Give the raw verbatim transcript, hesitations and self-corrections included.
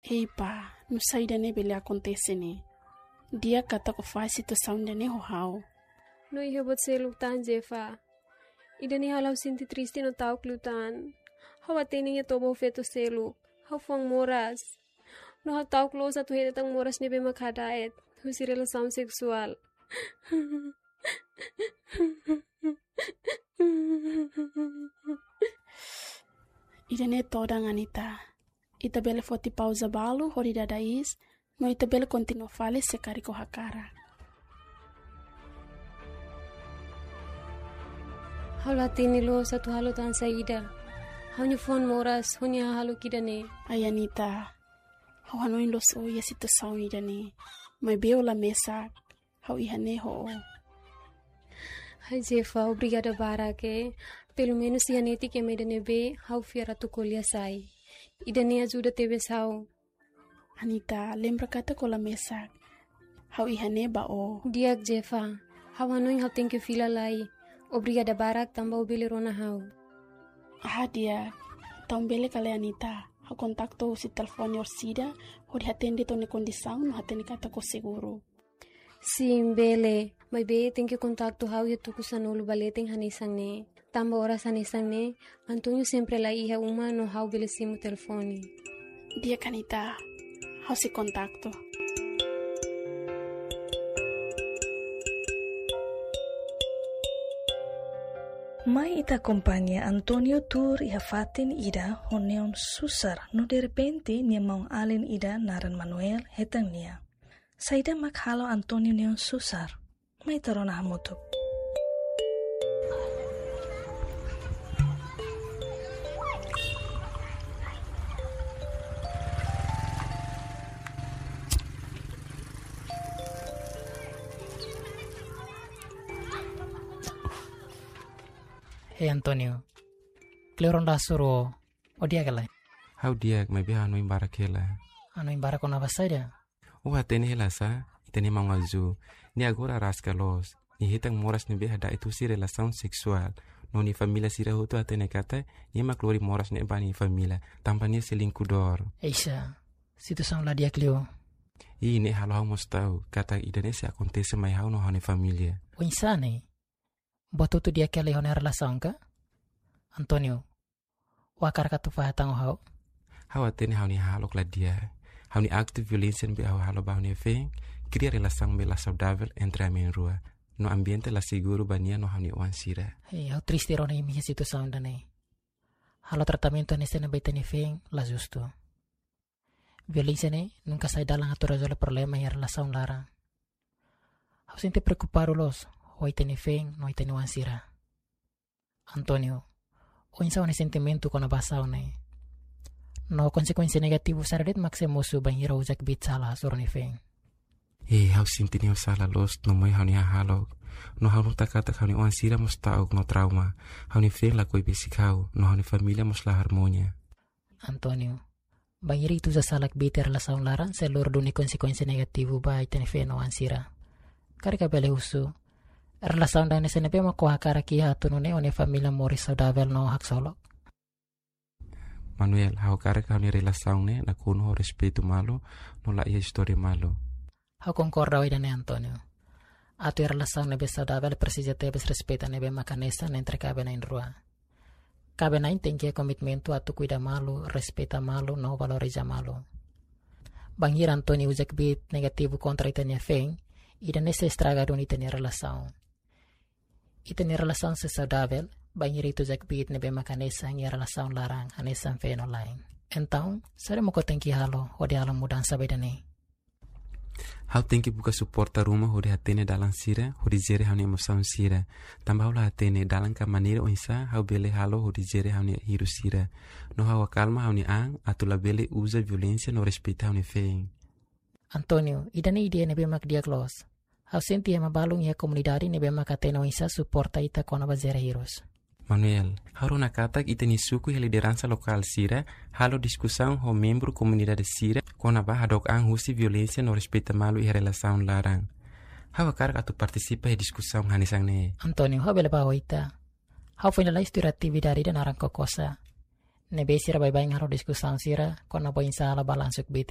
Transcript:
Ei pá, nusá ida-ne'e bele akontese ne'e? Di'ak katak ó fahe situasaun ida-ne'e ho ha'u. No iha buat seluk tan, Jefa. Ida-ne'e halo ha'u sente triste no ta'uk liután. Ha'u hatene iha toba ho feto seluk. Ha'u fuan moras. No ha'u ta'uk loos atu hetan moras ne'ebé mak hadaet husi relasaun seksuál. Ida-ne'e todan, Anita. Ita bele foti pauza balu hodi dada iis, no ita bele kontinua fali se karik ó hakarak. Ha'u la hatene loos atu halo tan saida. Ha'u-nia fuan moras ho nia hahalok ida-ne'e. Ai Anita, ha'u hanoin loos ó iha situasaun ida-ne'e. Maibé ó la mesak, ha'u iha ne'e ho ó. Ai Jefa, obrigada barak, eh. Pelumenus iha netik ema ida ne'ebé ha'u fiar atu ko'alia sai. Ida-ne'e ajuda tebes ha'u. Anita, lembra katak ó la mesak. Ha'u iha ne'e ba ó. Di'ak Jefa, ha'u hanoin ha'u tenke fila lai. Obrigada barak tanba ó bele rona ha'u. Ah, di'ak. Tau bele ka lae, Anita? Ha'u kontaktu husi telefone orsida, hodi hatene de'it ó-nia kondisaun no hatene katak ó seguru. Sin, bele. Maibé tenke kontaktu ha'u iha tuku sanulu ba leten hanesan ne'e. Tanba oras hanesan ne'e, António sempre la iha uma no ha'u bele simu telefone. Di'ak Anita, ha'u sei kontaktu. Mai ita akompaña António tuur iha fatin ida ho neon susar no derrepente nia maun-alin ida naran Manuel hetan nia. Saida mak halo António neon susar? Mai ita rona hamutuk. Hei António, kleur ona suru, ó di'ak ka lae? Ha'u di'ak, maibé ha'u hanoin barak hela. Hanoin barak kona-ba saida? Ó hatene hela sá, ita-nia maun Azu. Nia agora araska loos. Nia hetan moras ne'ebé hadaet husi relasaun seksuál. No nia família sira hotu hatene katak nia mak lori moras ne'e ba nia família, tanba nia selingkudór. Eixa, situasaun la di'ak liu. I ne'e halo ha'u mós ta'uk katak ida-ne'e sei akontese mai ha'u no ha'u-nia família. Oinsá ne'e? Buat hotu di'ak hela iha ó-nia relasaun ka? António, ó hakarak atu fahe tan ho ha'u? Ha'u hatene ha'u-nia hahalok la di'ak. Ha'u-nia aktu violénsia ne'ebé ha'u halo ba ha'u-nia feen kria relasaun ne'ebé la saudavel entre ami na'in-rua. No ambiente la seguru ba nia no ha'u-nia oan sira. Hei, ha'u triste rona imi iha situasaun ida-ne'e. Halo tratamentu hanesan ne'e ba ita-nia feen la justu. Violénsia ne'e nunka sai dalan atu rezolve problema iha relasaun laran. Ha'u sente preokupadu loos ho ita-nia feen no ita-nia oan sira. António, oinsá ó-nia sentimentu kona-ba situasaun ne'e? No konsekuénsia negativu saida de'it mak sei mosu bainhira ó uza kbiit sala hasoru ó-nia feen? Eh, ha'u sente neon sala loos no moe ha'u-nia hahalok. No ha'u nota katak ha'u-nia oan sira mós ta'uk no trauma. Ha'u-nia feen lakohi besik ha'u, no ha'u-nia família mós la harmonia. António, bainhira ita uza sala kbiit iha relasaun laran sei lori duni konsekuénsia negativu ba ita-nia feen no oan sira. Karik ka bele husu, relasaun ida hanesan ne'ebé mak ó hakarak iha atu nune'e ó-nia família moris saudavel no haksolok? Manuel, ha'u hakarak ha'u-nia relasaun ne'e nakonu ho respeitu malu, no la iha istória malu. Ha'u konkorda ho ida-ne'e António. Atu iha relasaun ne'ebé saudavel presiza tebes respeitu ne'ebé mak hanesan entre kaben na'in-rua. Kaben na'in tenke iha komitmentu atu kuida malu, respeita malu, no valoriza malu. Bainhira António uza kbiit negativu kontra ita-nia feen, ida-ne'e sei estraga duni ita-nia relasaun. Ita-nia relasaun sei saudavel bainhira ita uza kbiit ne'ebé mak hanesan iha relasaun laran, hanesan feen no la'en. Entaun, saida mak ó tenke halo hodi halo mudansa ba ida-ne'e? Ha'u tenke buka suporta ruma hodi hatene dalan sira, hodi jere ha'u-nia emosaun sira. Tanba ha'u la hatene dalan ka maneira oinsá ha'u bele halo hodi jere ha'u-nia hirus sira. No ha'u akalma ha'u-nia an atu labele uza violénsia no respeita ha'u-nia feen. António, ida-ne'e ideia ne'ebé mak di'ak loos. Ha'u sente ema balun iha komunidade ne'ebé mak hatene oinsá suporta ita kona-ba jere hirus. Manuel, ha'u rona katak ita-nia suku iha lideransa lokál sira halo diskusaun ho membru komunidade sira kona-ba hadook an husi violénsia no respeita malu iha relasaun laran. Ha'u hakarak atu partisipa iha diskusaun hanesan ne'e. António, ha'u bele bá ho ita. Ha'u foin lalais tuir atividade ida naran Kokosa. ne'ebé sira baibain halo diskusaun sira kona-ba oinsá ela balansu kbiit